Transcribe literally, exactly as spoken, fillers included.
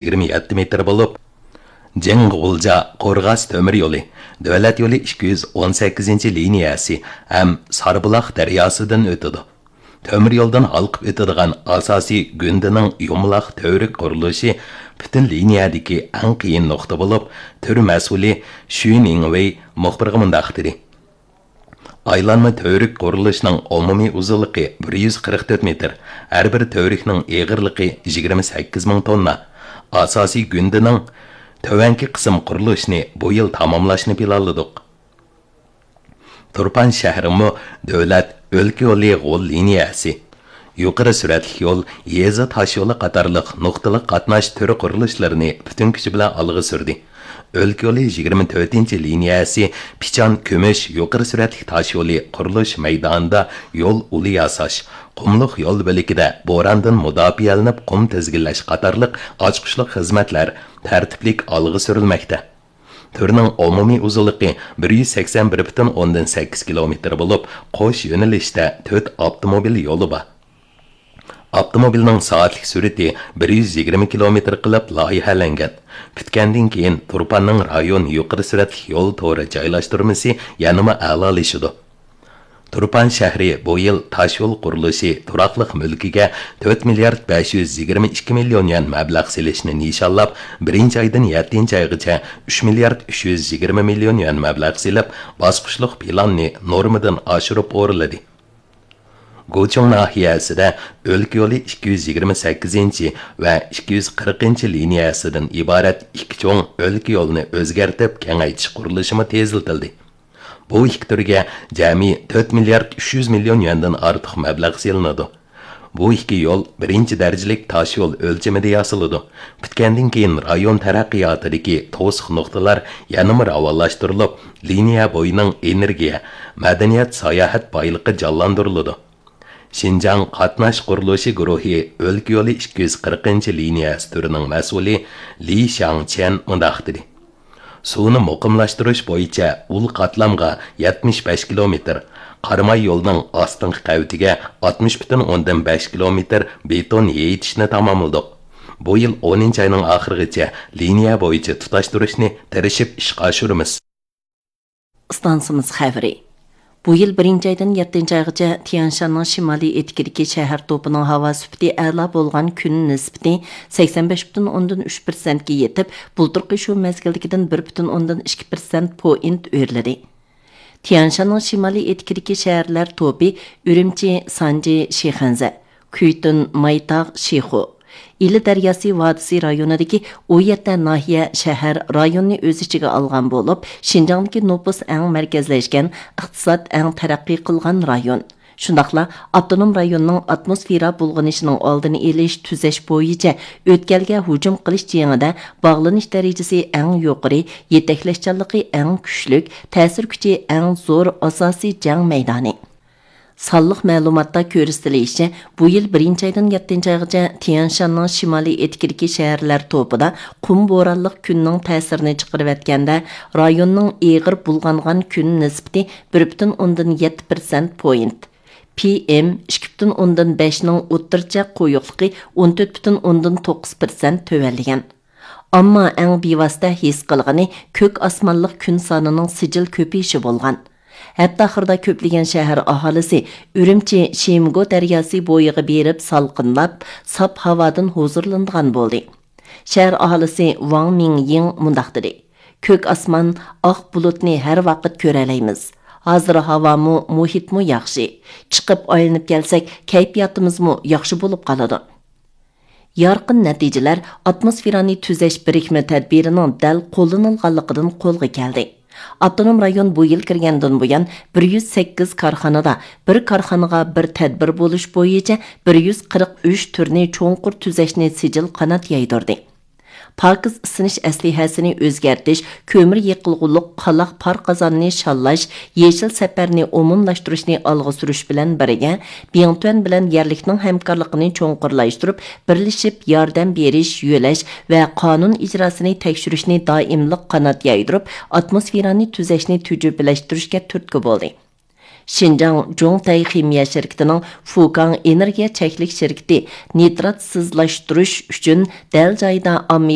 يىگىرمە يەتتە مېتىر بولۇپ، جىڭ غۇلجا قورغاس تۆمۈر يولى، دۆلەت يولى ئىككى يۈز ئون سەككىزىنچى لىنىيەسى ھەم ساربۇلاق دەرياسىدىن ئۆتىدۇ. تۆمۈر يولدىن ھالقىپ ئۆتىدىغان ئاساسىي گۈندىنىڭ يۇمىلاق تۈۋرۈك قۇرۇلۇشى پۈتۈن لىنىيەدىكى ئەڭ قىيىن نۇقتا بولۇپ، تۈر مەسئۇلى شۈ نىڭۋېي مۇخبىرغا مۇنداق دېدى: ئايلانما تۈۋرۈك قۇرۇلۇشىنىڭ ئومۇمىي ئۇزۇنلۇقى بىر يۈز قىرىق تۆت مېتىر، ھەر بىر تۈۋرۈكنىڭ ئېغىرلىقى يىگىرمە سەككىز مىڭ توننا. ئاساسىي گۈندىنىڭ تۆۋەنكى قىسىم قۇرۇلۇشىنى بۇ يىل تاماملاشنى پىلانلىدۇق. تۇرپان شەھىرىمۇ دۆلەت ئۆلكە يولى غول لىنىيەسى، يۇقىرى سۈرئەتلىك يول، يېزا تاش يولى قاتارلىق نۇقتىلىق قاتناش تۈرى قۇرۇلۇشلىرىنى پۈتۈن كۈچى بىلەن ئالغا سۈردى. ئۆلكە يولى يىگىرمە تۆتىنچى لىنىيەسى پىچان كۈمۈش يۇقىرى سۈرئەتلىك تاش يولى قۇرۇلۇش مەيدانىدا يول ئۇلى ياساش، قۇملۇق يول بۆلىكىدە بوراندىن مۇداپىئەلىنىپ قۇم تىزگىنلەش قاتارلىق ئاچقۇچلۇق خىزمەتلەر تەرتىپلىك ئالغا سۈرۈلمەكتە. تۈرنىڭ ئومۇمىي ئۇزۇنلۇقى بىر يۈز سەكسەن بىر پۈتۈن ئوندىن سەككىز كىلومېتىر بولۇپ، قوش يۆنىلىشتە تۆت ئاپتوموبىل يولى بار. ئاپتوموبىلنىڭ سائەتلىك سۈرئىتى بىر يۈز يىگىرمە كىلومېتىر قىلىپ لايىھەلەنگەن. پۈتكەندىن كېيىن، تۇرپاننىڭ رايون يۇقىرى سۈرئەتلىك يول تورى جايلاشتۇرمىسى يەنىمۇ ئەلالىشىدۇ. تۇرپان شەھىرى بۇ يىل تاشيول قۇرۇلۇشى تۇراقلىق مۈلكىگە تۆت مىليارد بەش يۈز يىگىرمە ئىككى مىليون يۈەن مەبلەغ سېلىشنى نىشانلاپ، بىرىنچى ئايدىن يەتتىنچى ئايغىچە ئۈچ مىليارد ئۈچ يۈز يىگىرمە مىليون يۈەن مەبلەغ سېلىپ، باسقۇچلۇق پىلاننى نورمىدىن ئاشۇرۇپ ئورۇنلىدى. گۇچۇڭ ناھىيەسىدە ئۆلكە يولى ئىككى يۈز يىگىرمە سەككىزىنچى ۋە ئىككى يۈز قىرىقىنچى لىنىيەسىدىن ئىبارەت ئىككى چوڭ ئۆلكە يولىنى ئۆزگەرتىپ كېڭەيتىش قۇرۇلۇشىمۇ تېزلىتىلدى. بۇ ئىككى تۈرگە جەمئىي تۆت مىليارد ئۈچ يۈز مىليون يۈەندىن ئارتۇق مەبلەغ سېلىنىدۇ. بۇ ئىككى يول بىرىنچى دەرىجىلىك تاشيول ئۆلچىمىدە ياسىلىدۇ. پۈتكەندىن كېيىن رايون تەرەققىياتىدىكى توسۇق نۇقتىلار يەنىمۇ راۋانلاشتۇرۇلۇپ، لىنىيە بويىنىڭ ئېنېرگىيە، مەدەنىيەت، ساياھەت بايلىقى جانلاندۇرۇلىدۇ. شىنجاڭ قاتناش قۇرۇلۇشى گۇرۇھى ئۆلكە يولى ئىككى يۈز قىرىقىنچى لىنىيەسى تۈرىنىڭ مەسئۇلى لى شياڭچيەن مۇنداق دېدى: سۇنى مۇقىملاشتۇرۇش بويىچە ئۇل قاتلامغا يەتمىش بەش كىلومېتىر، قاراماي يولنىڭ ئاستىنقى قەۋىتىگە ئاتمىش پۈتۈن ئوندىن بەش كىلومېتىر بېتون يېيىتىشنى تاماملىدۇق. بۇ يىل ئونىنچى ئاينىڭ ئاخىرىغىچە لىنىيە بويىچە تۇتاشتۇرۇشنى تىرىشىپ ئىشقا ئاشۇرىمىز. ئىستانسىمىز خەۋىرى. بۇ يىل بىرىنچى ئايدىن يەتتىنچى ئايغىچە تيەنشاننىڭ شىمالىي ئېتىكىدىكى شەھەر توپىنىڭ ھاۋا سۈپىتى ئەلا بولغان كۈن نىسبىتى سەكسەن بەش پۈتۈن ئوندىن ئۈچ پىرسەنتكە يېتىپ، بۇلتۇرقى شۇ مەزگىلدىكىدىن بىر پۈتۈن ئوندىن ئىككى پىرسەنت پوئىنت ئۆرلىدى. تيەنشاننىڭ شىمالىي ئېتىكىدىكى شەھەرلەر توپى ئۈرۈمچى، سانجى، شىخەنزە، كۈيتۈن، مايتاغ، شىخۇ، ئىلى دەرياسى ۋادىسى رايونىدىكى ئون يەتتە ناھىيە، شەھەر، رايوننى ئۆز ئىچىگە ئالغان بولۇپ، شىنجاڭدىكى نوپۇس ئەڭ مەركەزلەشكەن، ئىقتىساد ئەڭ تەرەققىي قىلغان رايون. شۇنداقلا ئاپتونوم رايوننىڭ ئاتموسفېرا بۇلغىنىشىنىڭ ئالدىنى ئېلىش، تۈزەش بويىچە ئۆتكەلگە ھۇجۇم قىلىش جېڭىدە باغلىنىش دەرىجىسى ئەڭ يۇقىرى، يېتەكلەشچانلىقى ئەڭ كۈچلۈك، تەسىر كۈچى ئەڭ زور ئاساسىي جەڭ مەيدانى. سانلىق مەلۇماتتا كۆرسىتىلىشىچە، بۇ يىل بىرىنچى ئايدىن يەتتىنچى ئايغىچە تيەنشاننىڭ شىمالىي ئېتىكىدىكى شەھەرلەر توپىدا قۇم بورانلىق كۈننىڭ تەسىرىنى چىقىرىۋەتكەندە، رايوننىڭ ئېغىر بۇلغانغان كۈن نىسبىتى بىر پۈتۈن ئوندىن يەتتە پىرسەنت پوينت، پى ئېم ئىككى پۈتۈن ئوندىن بەشنىڭ ئوتتۇرىچە قويۇقلۇقى ئون تۆت پۈتۈن ئوندىن توققۇز پىرسەنت تۆۋەنلىگەن. ئەمما ئەڭ بىۋاسىتە ھېس قىلغىنى كۆك ئاسمانلىق كۈن سانىنىڭ سىجىل كۆپىيىشى بولغان. ھەپتە ئاخىرىدا كۆپلىگەن شەھەر ئاھالىسى ئۈرۈمچى شىمگو دەرياسى بويىغا بېرىپ سالقىنلاپ، ساپ ھاۋادىن ھۇزۇرلىنىدىغان بولدى. شەھەر ئاھالىسى ۋاڭ مىڭيىڭ مۇنداق دېدى: كۆك ئاسمان، ئاق بۇلۇتنى ھەر ۋاقىت كۆرەلەيمىز. ھازىر ھاۋامۇ، مۇھىتمۇ ياخشى. چىقىپ ئايلىنىپ كەلسەك، كەيپىياتىمىزمۇ ياخشى بولۇپ قالىدۇ. يارقىن نەتىجىلەر ئاتموسفېرانى تۈزەش بىرىكمە تەدبىرىنىڭ دەل قوللىنىلغانلىقىدىن قولغا كەلدى. ئاپتونوم رايون بۇ يىل كىرگەندىن بۇيان بىر يۈز سەككىز كارخانىدا بىر كارخانىغا بىر تەدبىر بولۇش بويىچە بىر يۈز قىرىق ئۈچ تۈرنى چوڭقۇر تۈزەشنى سىجىل قانات يايدۇردى. پاكىز ئىسسىنىش ئەسلىھەسىنى ئۆزگەرتىش، كۆمۈر يېقىلغۇلۇق قالاق پار قازاننى شاللاش، يېشىل سەپەرنى ئومۇملاشتۇرۇشنى ئالغا سۈرۈش بىلەن بىرگە، بىڭتۈەن بىلەن يەرلىكنىڭ ھەمكارلىقىنى چوڭقۇرلاشتۇرۇپ، بىرلىشىپ ياردەم بېرىش، يۆلەش ۋە قانۇن ئىجراسىنى تەكشۈرۈشنى دائىملىق قانات يايدۇرۇپ، ئاتموسفېرانى تۈزەشنى تۈجۈپىلەشتۈرۈشكە تۈرتكە بولدى. شىنجاڭ جۇڭتەي خىمىيە شىركىتىنىڭ فۇكاڭ ئېنېرگىيە چەكلىك شىركىتى نىتراتسىزلاشتۇرۇش ئۈچۈن دەل جايىدا ئاممىۋى